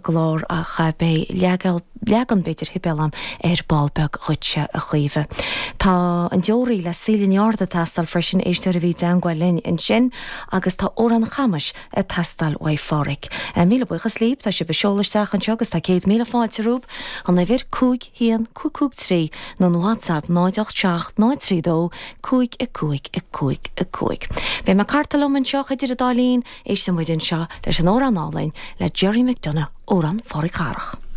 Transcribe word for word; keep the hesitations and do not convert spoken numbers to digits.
gclár ach beidh leagan leagan b'fhéidir Shibéal agam ar ball beag dhuitse a Chaoimhe. Tá an deoraí le Síle Ní Fhátharta ag teastáil freisin éisteoir a bhí i dteagmháil linn ansin agus tá Amhrán Chamais ag teastáil uaidh Pháraic. Míle buíochas libh tá sibh ag seoladh isteach anseo agus tá céad míle fáilte romhaibh an uimhir cúig haon cúig cúig trí nó an WhatsApp náid ocht seacht náid trí dó cúig a cúig a cúig a cúig. Beidh mé ag cartadh liom anseo idir an dá linn éisteann muid anseo leis an amhrán álainn le Gerry McDonagh Amhrán Pháraic Dharach.